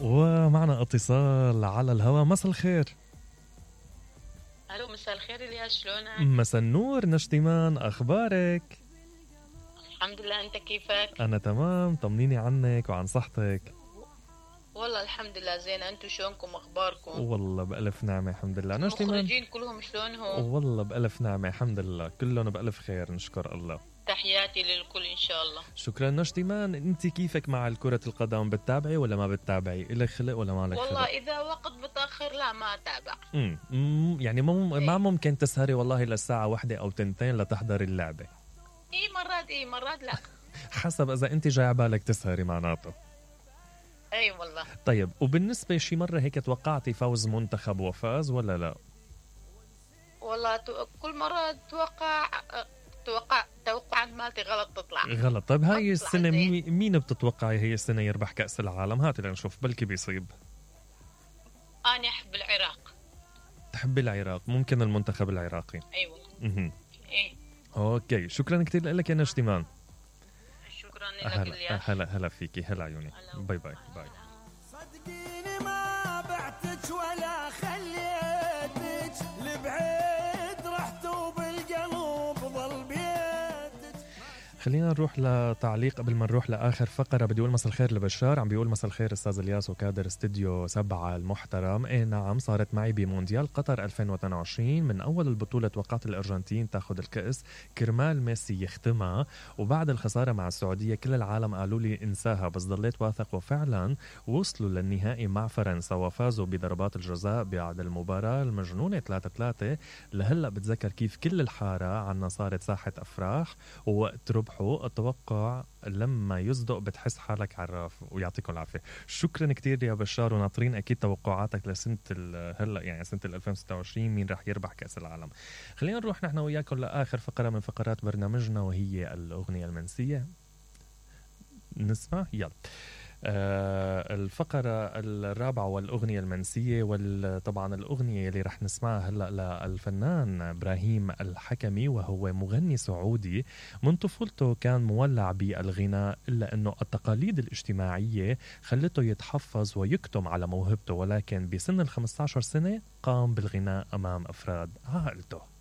ومعنا اتصال على الهواء. مساء الخير. الو مساء الخير الياس، شلونك؟ مساء النور نشتمان، اخبارك؟ الحمد لله، انت كيفك؟ انا تمام، طمنيني عنك وعن صحتك. والله الحمد لله زين، انتو شلونكم اخباركم؟ والله بألف نعمة الحمد لله. نشتمان المخرجين كلهم شلونهم؟ والله بألف نعمة الحمد لله، كلهم بألف خير نشكر الله. تحياتي للكل ان شاء الله. شكرا نشتمان. انت كيفك مع كرة القدم؟ بتتابعي ولا ما بتتابعي؟ إلك خلق ولا ما لك خلق؟ والله اذا وقت متاخر لا ما اتابع. يعني ما ممكن تسهري والله للساعة 1 أو 2 لتحضري اللعبة؟ مرات لا. حسب اذا انت جاي عبالك تسهري معناته. اي والله. طيب، وبالنسبة شي مرة هيك توقعتي فوز منتخب وفاز ولا لا؟ والله كل مرة توقعات مالتي غلط تطلع غلط. طيب هاي السنة مين بتتوقعي هي السنة يربح كأس العالم؟ هاتي لنشوف بلكي بيصيب. أنا أحب العراق. تحبي العراق؟ ممكن المنتخب العراقي. أيوة. إيه. أوكي، شكرا كتير لك يا نشتمان. شكرا لك. هلا فيكي، هلا عيوني. باي باي باي. صدقيني ما بعتك ولا خليتك لبعيد، رحت وبالقلب ظل بيتك. خلينا نروح لتعليق قبل ما نروح لآخر فقرة. بدي أقول مساء الخير لبشار، عم بيقول مساء الخير أستاذ الياس وكادر استديو 7 المحترم. إيه نعم، صارت معي بمونديال قطر 2022 من أول البطولة توقعت الأرجنتين تاخد الكأس كرمال ميسي يختمها، وبعد الخسارة مع السعودية كل العالم قالوا لي انساها، بس ضليت واثق وفعلا وصلوا للنهائي مع فرنسا وفازوا بضربات الجزاء بعد المباراة المجنونة 3-3. لهلأ بتذكر كيف كل الحارة عنا صارت ساحة أفراح، ووقت ربحوا أتوقع لما يصدق بتحس حالك عراف. ويعطيكم العافية. شكرا كتير يا بشار، وناطرين أكيد توقعاتك لسنة هلأ يعني سنة 2026 مين رح يربح كأس العالم. خلينا نروح نحن وياكم لآخر فقرة من فقرات برنامجنا، وهي الأغنية المنسية. نسمع يلا. الفقرة الرابعة والأغنية المنسية، وطبعا الأغنية اللي رح نسمعها هلأ للفنان إبراهيم الحكمي، وهو مغني سعودي. من طفولته كان مولع بالغناء، إلا أنه التقاليد الاجتماعية خلته يتحفظ ويكتم على موهبته، ولكن بسن 15 سنة قام بالغناء أمام أفراد عائلته.